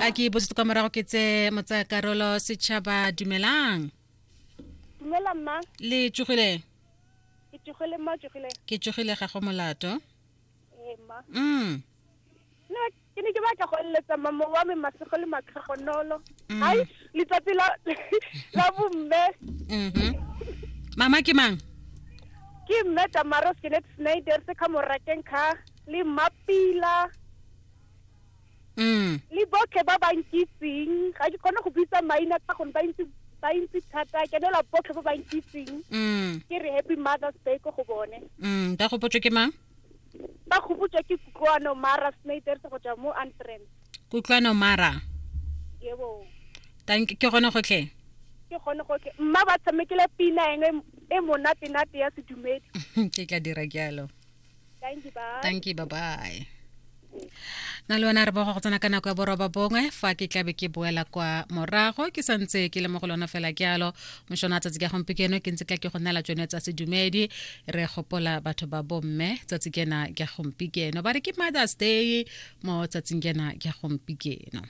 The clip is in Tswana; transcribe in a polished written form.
A ke bosetse kwa morago ke tse motsaya karolo setšhaba dumelang. Dumela mma. Le tsogile? Ke tsogile mma tsogile. Ke tsogile ga go molato. Ee mma. Nna ke ne ke batla go eletsa mama wa me masego le matlhogonolo. Ai letsatsi la la bomme. Mama ke mang? Ke mme Tamara Skenet Snyder se ka morakeng kha le Mapila. Le botlhe ba ba nkitseng ga ke kgone go bitsa maina ka gonne ba ntse ba ntse thata ke nela botlhe ba ba nkitseng. Ke re happy Mother's Day ko go bone. Ba gopotswe ke mang? Ba gopotswe ke Kutlwano Mara Snyder go tswa mo Antrim. Kutlwano Mara. Yebo. Thank ke gone gotlhe. Ke gone gotlhe. Mma ba tshamekile pina engwe e monate nate ya sedumedi. Ke tla dira jalo. Thank you, bye. Thank you, bye-bye. Na le wena re bogo go tsena ka nako ya boroba bongwe fa ke tlabe ke boela kwa morago ke santse ke le mo go lona fela jalo mošono a tsatsi ka gompieno ke ntse tla ke go neela tsone tsa sedumedi re gopola batho ba bomme tsatsi kena ke gompieno ba re ke Mother's Day mo tsatsing kena ke gompieno.